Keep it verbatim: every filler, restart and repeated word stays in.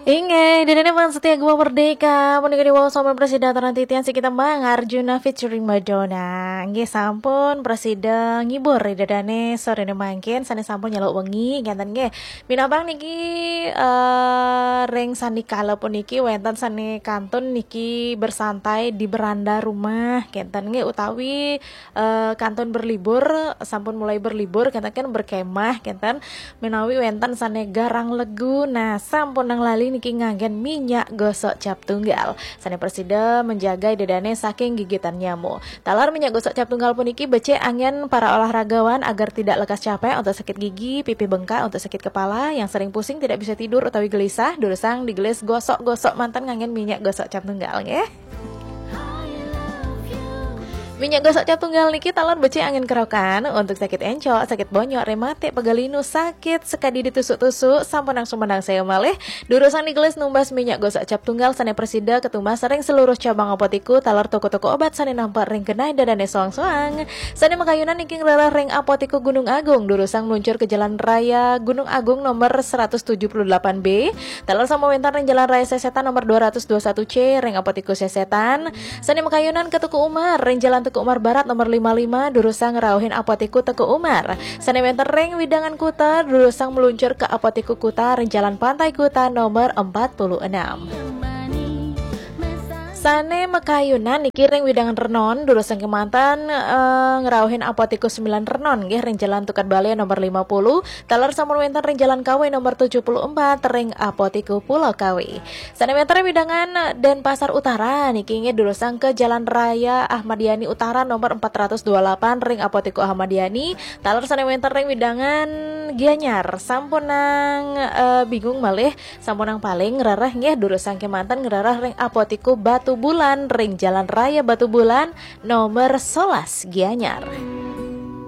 Inggih, ida dané Bang Setia Gema Merdeka, punika diwaos sampun prasida aturang titiang siki tembang Arjuna featuring Madonna. Inggih sampun prasida ngibur ida dané soréné mangkin sané sampun nyeluk wengi, kénten nggih. Minabang niki eh, ring sané kala puniki wénten sané kantun niki bersantai di beranda rumah, kénten nggih utawi eh, kantun berlibur, sampun mulai berlibur, kénten kan berkemah, kénten menawi wénten sané garang legu. Nah, sampun nang lali niki nganggén minyak gosok cap tunggal. Sané prasida menjaga ida dané saking gigitan nyamuk. Taler minyak gosok cap tunggal puniki becik anggén para olahragawan agar tidak lekas capek untuk sakit gigi, pipi bengkak untuk sakit kepala, yang sering pusing tidak bisa tidur utawi gelisah, durusang digelis gosok-gosok manten nganggén minyak gosok cap tunggal nggih. Minyak gosok cap tunggal niki taler becik anggén kerokan untuk sakit encok, sakit bonyok, rematik, pegal linu, sakit sekadi ditusuk-tusuk, sampun nang sumendang saya malih. Durusang digelis numbas minyak gosok cap tunggal sané prasida katumbas ring seluruh cabang Apotiku, taler toko-toko obat sané nampek ring genah ida dané soang-soang. Sané makayunan niki ngrereh ring Apotiku Gunung Agung, durusang meluncur ke Jalan Raya Gunung Agung nomor seratus tujuh puluh delapan B, taler sampun wénten ring Jalan Raya Sesetan nomor dua ratus dua satu C ring Apotiku Sesetan. Sané makayunan ke Teuku Umar ring Jalan Teuku Umar Barat nomor lima lima, durusang ngrauhin Apotiku Teuku Umar. Sané wénten ring Widangan Kuta, durusang meluncur ke Apotiku Kuta ring Jalan Pantai Kuta nomor empat puluh enam. Sané makayunan niki ring Widangan Renon, durusang kémanten eh, ngrauhin Apotiku sembilan Renon nggih ring Jalan Tukad Balé nomor lima puluh, taler sampun wénten ring Jalan Kawe nomor tujuh puluh empat ring Apotiku Pulau Kawe. Sané wénten ring Widangan Denpasar Utara niki inggih durusang ke Jalan Raya Ahmad Yani Utara nomor empat ratus dua puluh delapan ring Apotiku Ahmad Yani. Taler sané wénten ring Widangan Gianyar, sampun nang eh, bingung malih, sampun nang paling ngrereh nggih durusang kémanten ngrereh ring Apotiku Batu Bulan ring Jalan Raya Batu Bulan nomor sebelas Gianyar.